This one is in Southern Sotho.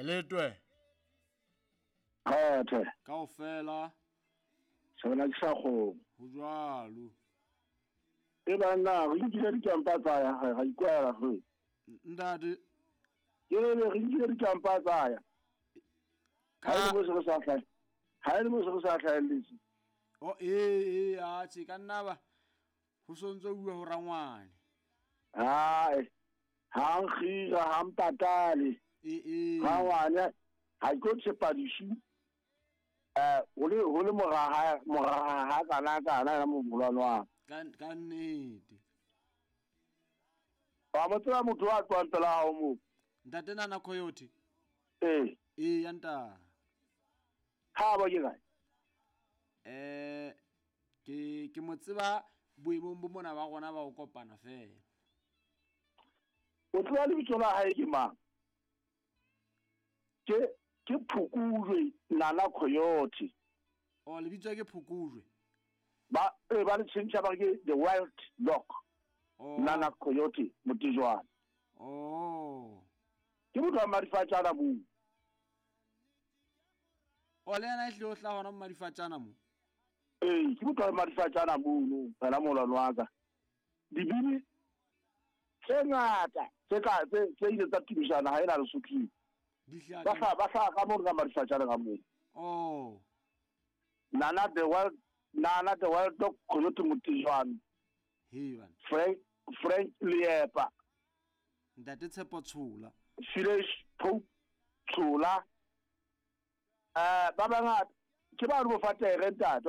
Letwe. Kgethe. Kaofela. Sona ke sa kgomo. Ho jwalo. E banna re nkile dikampa tsa ya ga ikwela re. Ntate. Ke re re nkile dikampa tsa ya. Ha e le mo se re sa hlahe. Ha e le mo se re sa hlahelletse. Oh ee ee a tse ka nna ba ho sontso bua ho rangwane. Hai. Ha nkgira ha mpatale. Ee ee. Rangwane ha ke tshepa disu. Ho le ho le moraha moraha ha kana kana ya mobolwane wa. Ka nnete. Wa mo tseba motho wa tswang pela hao moo. Ntate Nana Coyote. Ee. Ee ya nta. Ha ba ke kae? Ke mo tseba boemong bo mona ba rona ba ho kopana fela. O tseba lebitso la hae ke mang? Ke Phokojwe Nana Coyote. Oh, lebitso ke Phokojwe. Ba ba le tjhentjha ba ke The Wild Dog. Oh. Nana Coyote Motejwana. Oh. Ke motho wa Madifatjana moo. O le yena e hlile o hlaha hona Madifatjana mo. Ee, ke motho wa Madifatjana mono, wena molwane wa ka. Dibini tse ngata tse ka tse ile tsa tumisana ha ena Lesothong. Di hlaha Ba hlaha ba hlaha ka moo ka Madifatjana ka moo. Oh. Nana the Wild Nana the Wild Dog Coyote Motejwana. He bana. Frank Leepa. Ntate Tshepo Tshola. Village Pope Tshola. Ba bangata ke ba re bo fatere ntate.